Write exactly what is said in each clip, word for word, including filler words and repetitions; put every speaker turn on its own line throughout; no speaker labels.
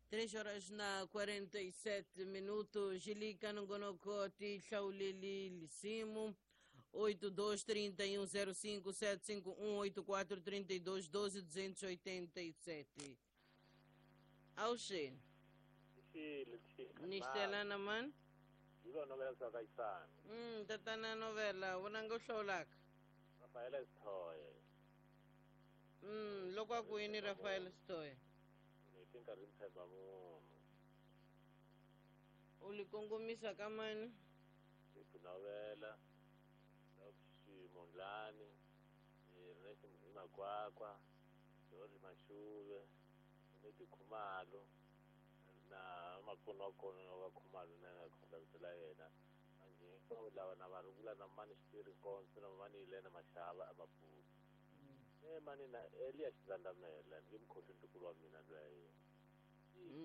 Três horas na quarenta e sete minutos. Gilika Nongonoko Hlauleli Lisimu oito dois três um zero cinco sete cinco um oito quatro três dois doze duzentos e oitenta e sete. Auxe. Nistelana man.
Iba novela za Kaisani.
Mm, tatana novela, wonanga uhlawulaka.
Rafael Stoye.
Mm, loko akuyini Rafael Stoye?
Ni nkarhi ntshemba munhu.
U li kongomisa ka mani?
Tinovela, Ximondlani, Ernest Makwakwa, George Mashuve, Neti Khumalo, na makonokono va Khumalo na nga khonda vito la yena. Manje hinkwavo lava na va rungula na mani Xitiri Nkonzo na mani Yilena Mashava eMaputo. E mani na Elias Xandamela ni mukhosi ntukulu wa mina loyi.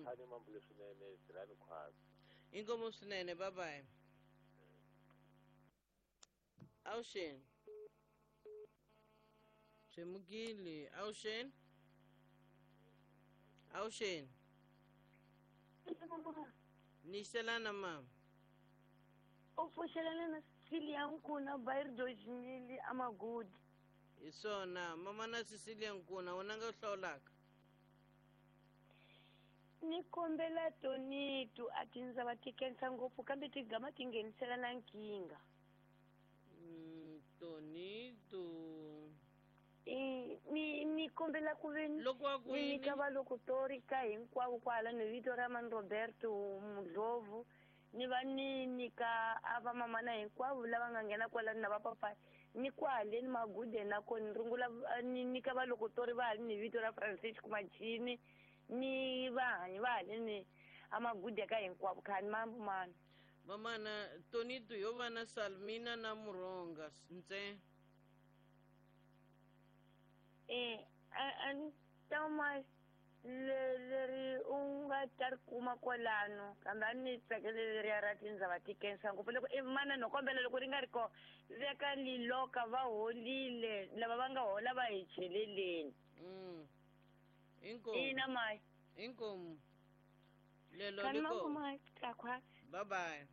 Khani mambule swinene tirhani khwatsi.
Inkomo swinene, bye bye. Awuxeni. Swemukile, awuxeni. Awuxeni. Nixelana mama.
U pfuxelana na Cecilia Nkuna bairro dois mil Amagudi.
Hi swona, mama na Cecilia Nkuna, wena nga hlawulaka.
Ni kombela Tonito a tindzava ti khensa ngopfu kambe tigama ti nghenisela na nkingha.
Mm, Tonito.
I ni ni kombela ku ve
loko a ku
ni nyika valokotori ka hinkwavo kwala ni vito ra mani Roberto Mudlovu ni va ni nyika a va mamana hinkwavo lava nga nghena kwalano na vapapayi ni kwale ni magude na kona ni rungula ni nyika valokotori va hali ni vito ra Francisco Machini ni vahanyi va haleni amagude ka hinkwavo khani mamana.
Mamana Tonito yo va na Salmina na Muronga ntse.
Eh, a ni ta ma leri u nga ta ri kuma kwalano kambe a ni tsakele leriya ra tindzava ti khensa ngopfu loko i mana no kombela loko ri nga ri kona veka liloka va holile lava va nga hola va hi cheleleni.
Mm. Inkomu.
Ina mai.
Inkomu. Lelo
Khani
liko.
mambu khwatsi.
Bye bye.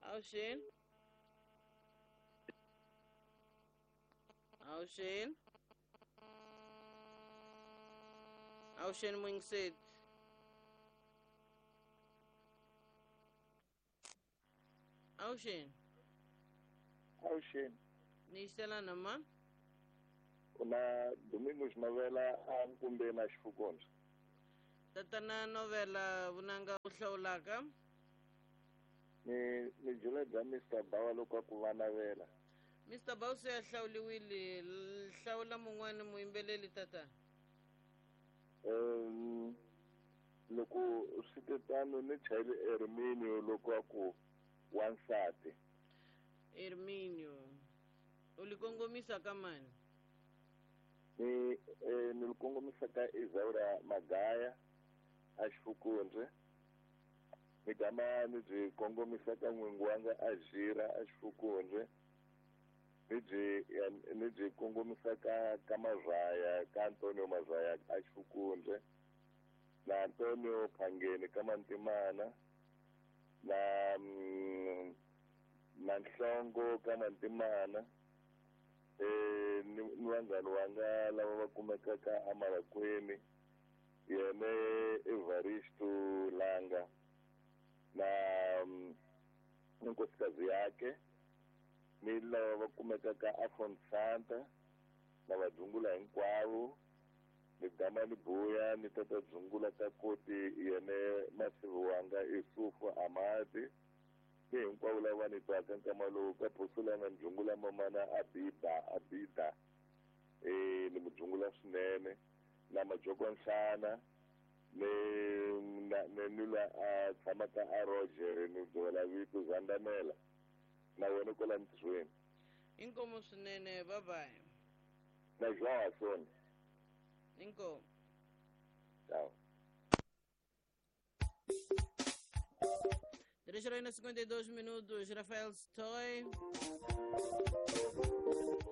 Awuxeni. Awuxeni. Awuxeni Mwingiset. Awuxeni.
Awuxeni.
Nixelana ma.
Kuna Domingos Novela a kumbe na Xifukondzo.
Tatana Novela vunanga u hlawulaka.
Ni ni byela bya Mister Bawa loko ku va navela.
Mister Bawa se a hlawuliwile, hlawula mun'wana muyimbeleli tata.
Um loko swi te tano ni chayile Herminio loko a ku wansati.
Herminio. U li kongomisa ka mani?
Ni eh, ni li kongomisa ka Isaura Magaya a Xifukundze. Ni gama ni byi kongomisa ka n'wingi wanga a Jira a Xifukundze. Ni byi ni byi kongomisa ka ka Mazaya ka Antonio Mazaya a Xifukundze na Antonio Phangeni ka Mantimana na mm, na Nhlongo ka Mantimana eh ni ni vanghani wanga lava va kumekaka eMalakwini yene Evaristo Langa na ni nkosikazi yakhe ni lava va kumekaka aFonsanta na vadzungula hinkwavo ni gama ni buya ni tata dzungula ka koti yene masivi wanga Isufu Amadi ni hinkwavo lava ni twaka nkama lowu ka Phosulanga ni dzungula mamana Abida Abida eh ni mudzungula swinene na Majoko Nhlana ni na ni ni la a tshamaka a Roger ni byela vito Zandamela na wena kwala ntirhweni.
Inkomo swinene, bye bye.
Na João Asson.
Inkomo.
Tchau.
Três horas e cinquenta e dois minutos, Rafael Stoy.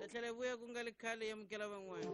Tatlhela vuya ku nga ri khale yamukela van'wana.